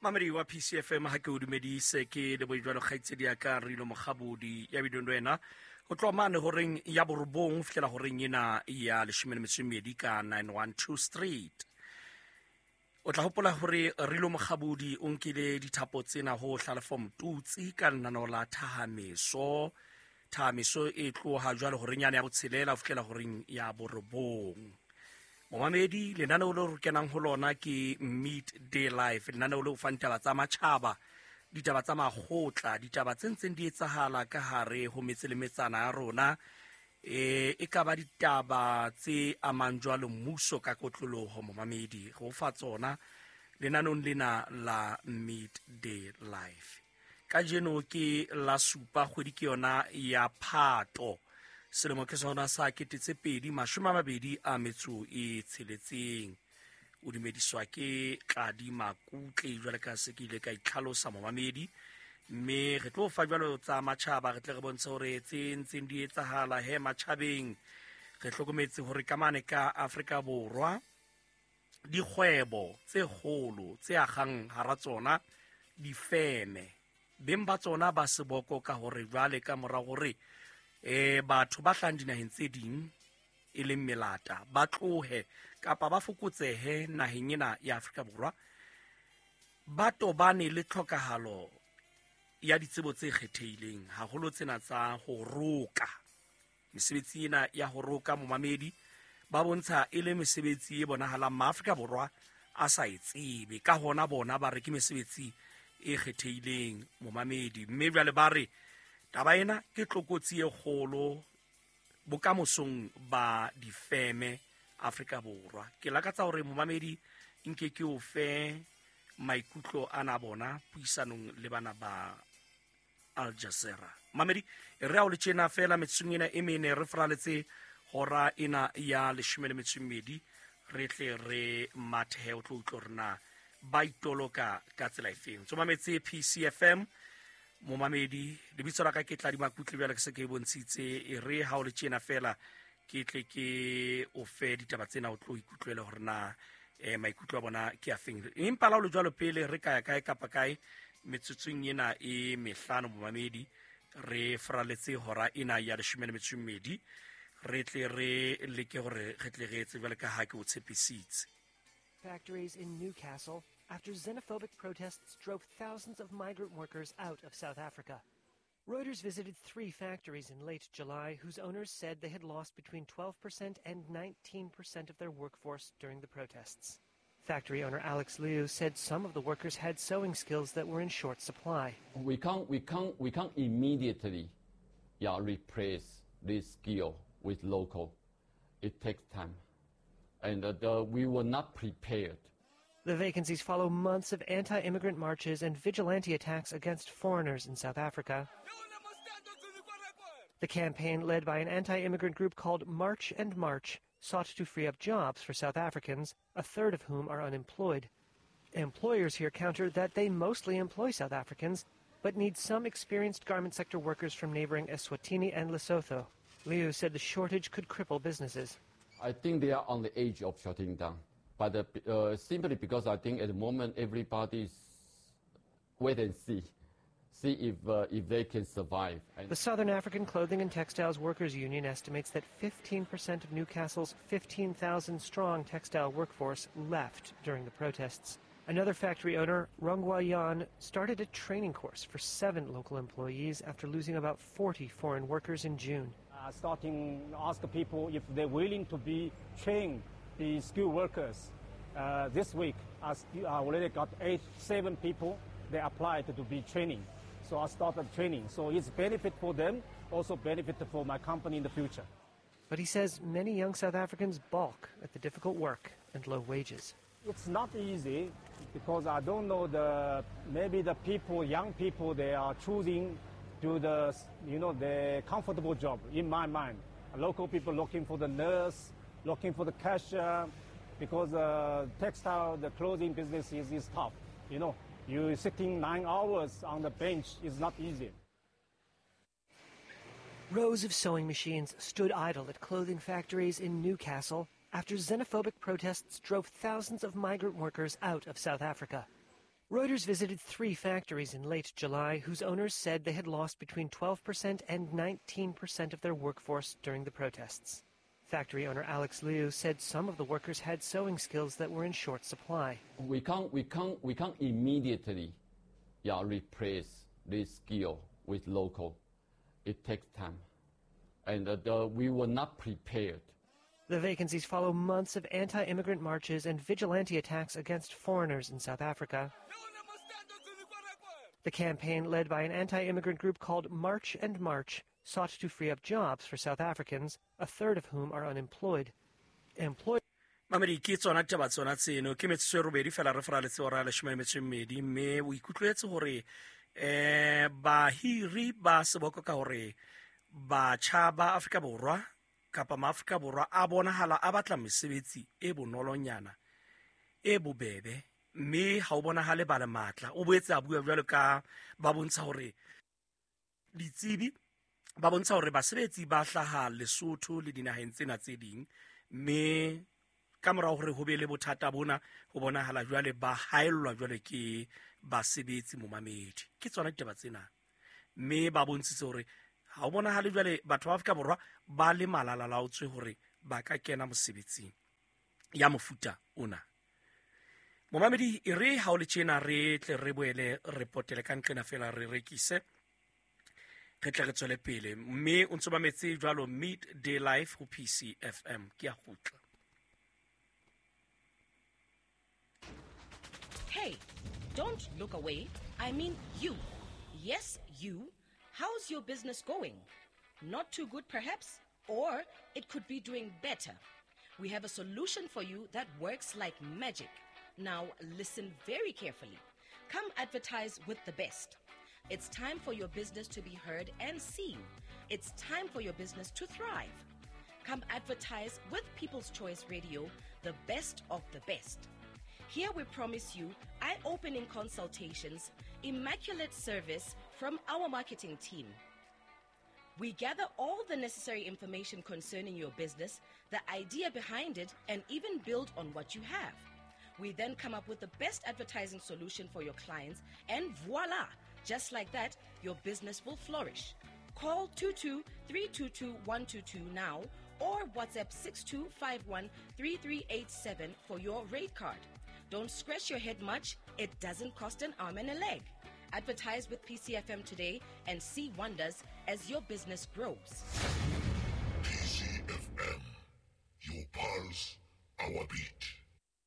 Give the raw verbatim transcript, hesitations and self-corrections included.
Mamedi wa P C F M ha ke o dumedise ke le bojwalo kgaitsedi ya ka Rilo Mokgabodi ya bidong wena ho tloha mane horeng ya borobong ho fihlela horeng ena ya leshome le metso e mmedi ka nine one two Street. O tla hopola hore Rilo Mokgabodi o nkile dithapo tsena ho Hlalefo Motutsi ka lenaneo la Thahameso. Thahameso e tloha jwale horeng yane ya botshelela ho fihlela horeng ya borobong. Momamedi, lenaneo leo re kenang ho lona ke Midday Life, lenaneo leo fang ditaba tsa matjhaba, ditaba tsa makgotla, ditaba tse ntseng di etsahala ka hare ho metse le metsana ya rona. E, e ka ba ditaba tse amang jwalo mmuso ka kotloloho, momamedi, re o fa tsona lenaneong lena la Midday Life. Kajeno ke la supa kgwedi ke yona ya Phato. Selemo ke sona sa kete tse pedi mashome a mabedi a metso e tsheletseng. O dumediswa ke Tladi Makutle jwale ka se ke ile ka itlhalosa momamedi, mme re tlo fa jwalo tsa matjhaba, re tle re bontshe hore tse ntseng di etsahala he matjhabeng. Re hlokometse hore ka mane ka Afrika Borwa dikgwebo tse kgolo tse akgang hara tsona difeme, beng ba tsona ba seboko ka hore jwale ka mora hore eh batho ba hlahang dinaheng tse ding e leng melata ba tlohe kapa ba fokotsehe naheng ena ya Afrika Borwa, ba tobane le tlhokahalo ya ditsebo tse kgethehileng haholo tsena tsa ho roka. Mesebetsi ena ya ho roka momamedi ba bontsha e le mesebetsi e bonahalang Maafrika Borwa a sa e tsebe, ka hona bona ba re ke mesebetsi e kgethehileng momamedi, mme jwale ba re taba ena ke tlokotsi e kgolo bokamosong ba difeme Afrika Borwa. Ke lakatsa hore momamedi nke ke o fe maikutlo ana bona puisanong le bana ba Al Jazeera. Mamedi, re a o le tjena fela metsotsong ena e mene re fraletse hora ena ya leshome le metso e mmedi, re tle re mathehe o tlo utlwa hore na ba itoloka ka tsela efeng. Tso mametse P C F M momamedi, lebitso la ka ke Tladi Makutle jwale ke se ke e bontshitse. E re ha o le tjena fela ke tle ke o fe ditaba tsena o tlo ikutlwela hore na eh maikutlo a bona ke a feng. Empa la o le jwalo pele re ka ya kae kapa kae metsotsong ena e mehlano momamedi, re fraletse hora ena ya leshome le metso e mmedi, re tle re leke hore re tle re etse jwale ka ha ke o tshepisitse. Factories in Newcastle after xenophobic protests drove thousands of migrant workers out of South Africa. Reuters visited three factories in late July whose owners said they had lost between twelve percent and nineteen percent of their workforce during the protests. Factory owner Alex Liu said some of the workers had sewing skills that were in short supply. We can't, we can't, we can't immediately, yeah, replace this skill with local. It takes time. And, uh, the, we were not prepared. The vacancies follow months of anti-immigrant marches and vigilante attacks against foreigners in South Africa. The campaign, led by an anti-immigrant group called March and March, sought to free up jobs for South Africans, a third of whom are unemployed. Employers here counter that they mostly employ South Africans, but need some experienced garment sector workers from neighboring Eswatini and Lesotho. Liu said the shortage could cripple businesses. I think they are on the edge of shutting down. But, uh, uh, simply because I think at the moment everybody's wait and see, see if, uh, if they can survive. And the Southern African Clothing and Textiles Workers Union estimates that fifteen percent of Newcastle's fifteen thousand strong textile workforce left during the protests. Another factory owner, Ronghua Yan, started a training course for seven local employees after losing about forty foreign workers in June. Uh, starting ask people if they're willing to be trained, be skilled workers. Uh, this week, I st-, I already got eight, seven people, they applied to be training. So I started training. So it's benefit for them, also benefit for my company in the future. But he says many young South Africans balk at the difficult work and low wages. It's not easy because I don't know the, maybe the people, young people, they are choosing do the, you know, the comfortable job, in my mind. Local people looking for the nurse, looking for the cashier, because, uh, textile, the clothing business is, is tough. You know, you sitting nine hours on the bench is not easy. Rows of sewing machines stood idle at clothing factories in Newcastle after xenophobic protests drove thousands of migrant workers out of South Africa. Reuters visited three factories in late July whose owners said they had lost between twelve percent and nineteen percent of their workforce during the protests. Factory owner Alex Liu said some of the workers had sewing skills that were in short supply. We can't, we can't, we can't immediately, yeah, replace this skill with local. It takes time, and, uh, the, we were not prepared. The vacancies follow months of anti-immigrant marches and vigilante attacks against foreigners in South Africa. The campaign, led by an anti-immigrant group called March and March, sought to free up jobs for South Africans, a third of whom are unemployed. Employed. Mamedi, ke tsona taba tsona tseno, ke metsotso e robedi fela re faraletse hora ya leshome le metso e mmedi, mme o ikutlwetse hore, eh, bahiri ba seboko ka hore batjha ba Afrika Borwa kapa maAfrika Borwa a bonahala a batla mesebetsi e bonolonyana, e bobebe, mme ha o bonahale ba le matla. O boetse a bua jwalo ka ba bontsha hore ditsebi ba bontsha hore basebetsi ba hlaha Lesotho le dinaheng tsena tse ding, mme ka morao hore ho be le bothata bona ho bonahala jwale ba haellwa jwale ke basebetsi momamedi. Ke tsona ditaba tsena, mme ba bontshitse hore ha o bonahale jwale batho ba Afrika Borwa ba le malalalaotswe hore ba ka kena mosebetsing ya mofuta ona. Momamedi, e re ha o le tjena re tle re boele re potele ka nqena fela re rekise, re tle re tswele pele, mme o ntso mametse jwalo Midday Life ho P C F M. Ke a kgutla. Hey, don't look away. I mean you. Yes, you. How's your business going? Not too good, perhaps? Or it could be doing better. We have a solution for you that works like magic. Now, listen very carefully. Come advertise with the best. It's time for your business to be heard and seen. It's time for your business to thrive. Come advertise with People's Choice Radio, the best of the best. Here we promise you eye-opening consultations, immaculate service from our marketing team. We gather all the necessary information concerning your business, the idea behind it, and even build on what you have. We then come up with the best advertising solution for your clients, and voila! Just like that, your business will flourish. Call two two three two two one two two now or WhatsApp six two five one three three eight seven for your rate card. Don't scratch your head much. It doesn't cost an arm and a leg. Advertise with P C F M today and see wonders as your business grows. P C F M, your pulse, our beat.